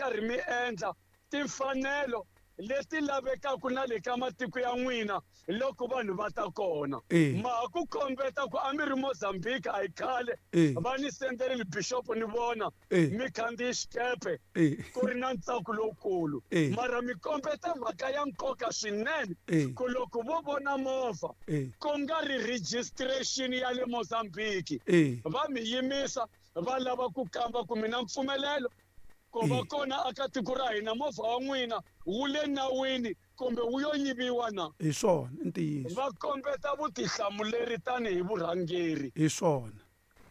karhi mi endla timfanelo leti lavekaka na le ka matiko ya n'wina loko vanhu va ta kona. Ma ha ku kombeta ku a mi ri Mozambique a hi khale va ni senderile bishop ni vona mi khandziyi xikepe ku ri na ntsako lowukulu. Mara mi kombeta mhaka ya nkoka swinene ku loko vo vona movha ku nga ri registration ya le Mozambique va mi yimisa va lava ku kamba ku mi na mpfumelelo ku va kona aka tiko ra hina movha wa n'wina wu le nawini kumbe wu yo yiviwa na. Hi swona i ntiyiso. Va kombeta vutihlamuleri tanihi vurhangeri. Hi swona.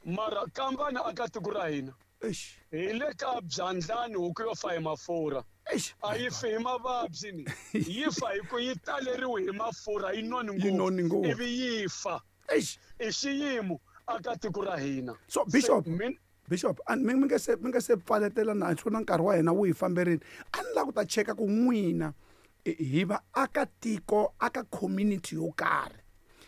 Mara kambani aka tiko ra hina. Eish. Hi le ka byandlani huku yo fa hi mafurha. Eish. A yi fi hi mavabyi ni. Yi fa hi ku yi taleriwe hi mafurha yi noni Yi noni ngopfu. Ivi yi fa. Eish. I xiyimo aka tiko ra hina. So Bishop, Bishop, a mi nge se mi nge se pfaletela na swi na nkarhi wa hina wu hi famberile. A ni lava ku ta cheka ku n'wina hi va aka tiko aka community yo karhi.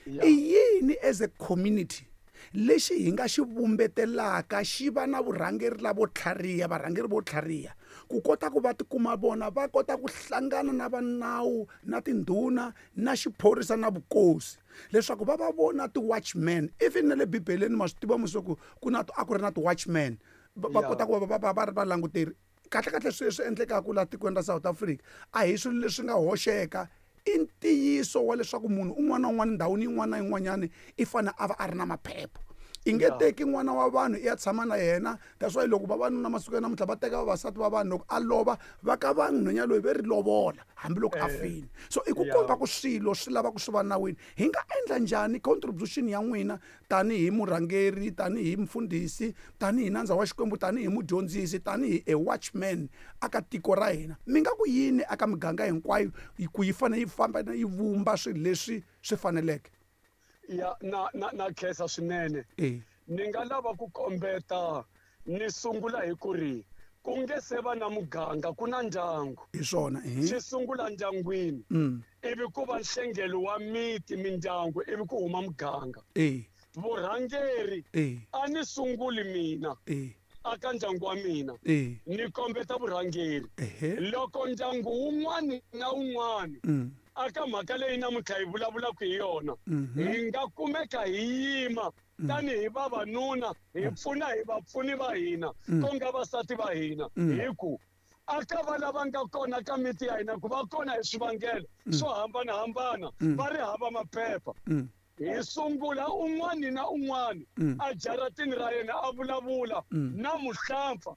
I yini as a community lexi hi nga xi vumbetelaka xi va na vurhangeri lavo tlhariha varhangeri vo tlhariha ku kota ku va tikuma vona va kota ku hlangana na va nawu na tindhuna na xiphorisa na vukosi leswaku va va vona ti-watchman even na le bibeleni ma swi tiva musi ku ku na a ku ri na ti-watchman va kota ku va va va ri valanguteri kahle kahle swilo leswi endlekaka laha tikweni ra South Africa a hi swilo leswi nga hoxeka i ntiyiso wa leswaku munhu un'wana na un'wana ndhawini yin'wana na yin'wanyana i fanele a va a ri na maphepha i nge teki n'wana wa vanhu i ya tshama na yena that's why loko vavanuna masiku ya namuntlha va teka vavasati va vanhu loko a lova va ka va nhwenya loyi ve ri lovola hambiloko a fini so i ku komba ku swilo swi lava ku swi va nawini hi nga endla njhani contribution ya n'wina tanihi murhangeri tanihi mfundhisi tanihi nandza wa xikwembu tanihi mudyondzisi tanihi a watchman aka tiko ra hina mi nga ku yini aka miganga hinkwayo ku yi fanele yi famba yi vumba swilo leswi swi faneleke ya na na na khensa swinene ni nga lava ku kombeta ni sungula hi ku ri ku nge se va na muganga ku na ndyangu hi swona swi sungula ndyangwini ivi ku va nhlengelo wa miti mindyangu ivi ku huma muganga vurhangeri a ni sunguli mina aka ndyangu wa mina ni kombeta vurhangeri loko ndyangu wun'wani na wun'wani aka mhaka leyi namuntlha hi vulavulaka hi yona hi nga kumeka hi yima tanihi vavanuna hi pfuna hi vapfuni va hina ku nga vasati va hina hi ku aka va lava nga kona ka miti ya hina ku va kona hi swivangelo swo hambanahambana va ri hava maphepha hi sungula un'wani na un'wani a jaratini ra yena a vulavula na muhlampfa.